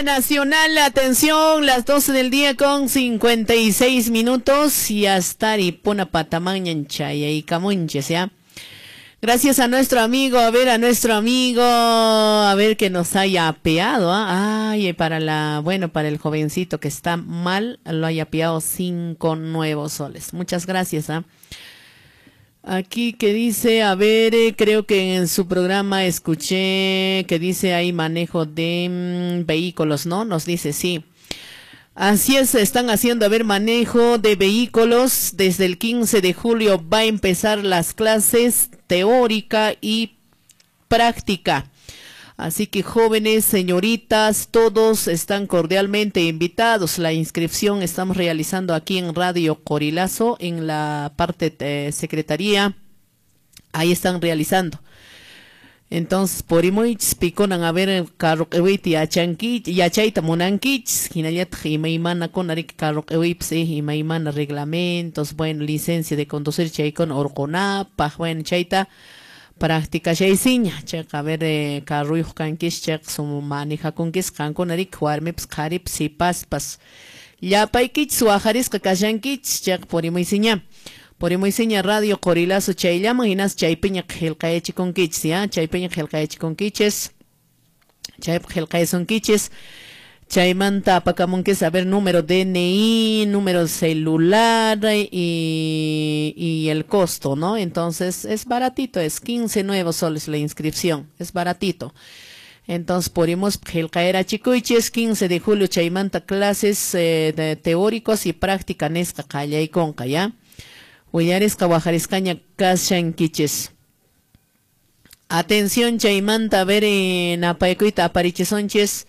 Nacional, atención, las 12 del día con 56 minutos y hasta Ripuna Patamañan Chayaycamunches, ¿ya? Gracias a nuestro amigo, a ver, a nuestro amigo, a ver que nos haya apeado, ¿ah? Ay, para la, bueno, para el jovencito que está mal, lo haya apeado 5 nuevos soles. Muchas gracias, ¿ah? Aquí que dice, a ver, creo que en su programa escuché que dice ahí manejo de vehículos, ¿no? Nos dice, sí. Así es, están haciendo, a ver, manejo de vehículos. Desde el 15 de julio va a empezar las clases teórica y práctica. Así que jóvenes, señoritas, todos están cordialmente invitados. La inscripción estamos realizando aquí en Radio Corilazo, en la parte de secretaría. Ahí están realizando. Entonces, purimuych pikunan a ver carro q'iwiyta yachanki yachayta munankichis hinallataq imaymanakuna riki carro q'iwiypas imaymana reglamentos, bueno, licencia de conducir chaykuna urqunapaq, bueno, chayta practicashaysiña chayqa a ver carruyuq kankis chayqa suma manejakunkis qankuna riki warmipas qharipas sipaspas llapaykichis waqharisqa kashankichis chayqa purimuysiña. Purimuysiña Radio Corilazo chayllaman hinas chaypiña qillqayachikunkichis, ya, chaypiña qillqayachikunkichis, chaypi qillqayasunkichis, chaymanta apakamunkis a ver número DNI, número celular y el costo, ¿no? Entonces es baratito, es 15 nuevos soles la inscripción, es baratito. Entonces, podemos qillqayarachikuychis 15 de julio chaymanta clases de teóricos y práctica nisqa qallaykunqa, ya. Willarisqa waqharisqaña kashankichis. Atención chaymanta a ver napaykuyta aparichisunchis.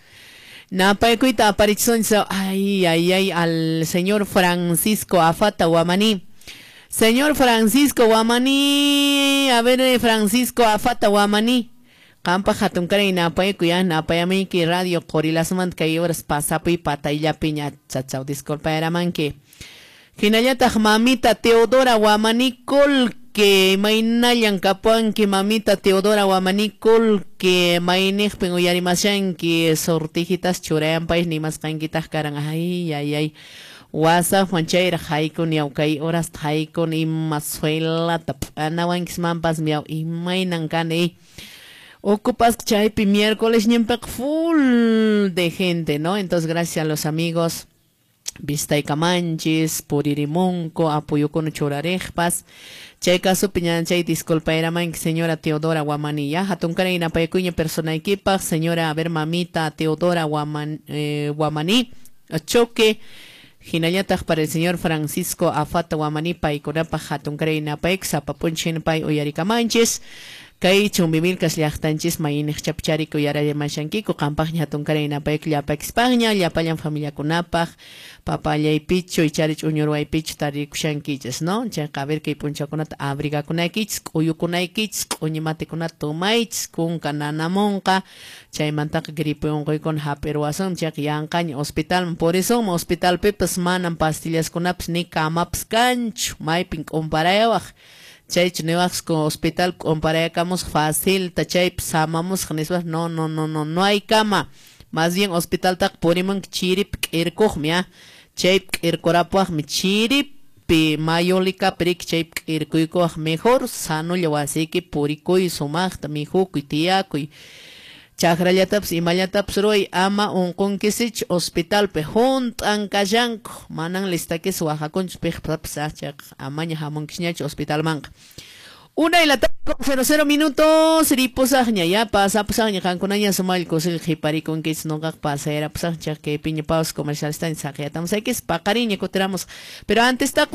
Napaykuyta aparichisunchis. Ay, ay, ay, al señor Francisco Afata Guamaní. Señor Francisco Guamaní, a ver Francisco Afata Guamaní. Qampa hatunkaray napaykuy ya napayamayki Radio Qorilazomanta kay horas pasapuy patayllapiña chachaw disculpayaramanki. Hinallataq mamita Teodora Guamaní Colque, maynallan kapuanki mamita Teodora Guamaní Colque, mayniqpin uyarimashanki sortijitas churayanpay nimasqankitaq karan, ay, ay, ay, WhatsAppman chayraq haykun yaw kay horas haykun ima suelata p'anawankismanpas miaw imaynan kani. Ocupas chaypi miércoles ñinpiqa full de gente, ¿no? Entonces gracias a los amigos Vistaykamanchis, puririmunku, apuyukuna churariqpas. Chay kasupi ñanchay disculpayramanki señora Teodora Guamaní, ya hatunkaray napaykuyña personaykipaq, señora, a ver, mamita Teodora Guamaní, choque. Hinallataq para el señor Francisco Afata Guamaní, paykunapaq hatunkaray napayku, sapapunchin pay uyarikamanchis. Kay Chumbivilcas llaqtanchis mayniq chapchariku yarallamashankiku qampaqña hatunkaray napayku llapakispaña llapallan familiakunapaq papallaypichu icharich uñurwaypichu tarikushankichis, ¿no? Chayqa a ver kay punchakunata abrigakunaykichis k'uyukunaykichis q'uñi matikunata tomaychis kunka nanamunqa chaymantaqa gripe unquykuna hap'irwasun chayqa yanqaña hospitalman purisunman hospitalpipas manan pastillaskunapas ni kamapas kanchu maypin k'umparayawaq. Chaychu niwaqsku hospital comparayakamusqa facilta chaypi samamusqa nispa no, no, no, no, no hay cama. Más bien hospitaltaqa purimunki chiripi k'irkuqmi, ya. Chaypi k'irkurapuwaqmi chiripi mayulikapi riki chaypi k'irkuykuwaq mejor sanolla wasiyki purikuy sumaqta mikhukuy tiyakuy. Chakrallatapas imallatapas ruway ama unqunkisichu hospitalpi hunt'an kashanku manan listakis waqakunchu piqpapas chayqa amaña hamunkisñachu hospitalmanqa. 1:00 minutos ripusaqña ya pasapusaqña qankunaña sumaqlla kusilla qhiparikunkichis nuqaqa pasayarapusaqña chayqa kaypiña pausa comercial saqiyatamusaykis paqariña kutiramos pero antes taqa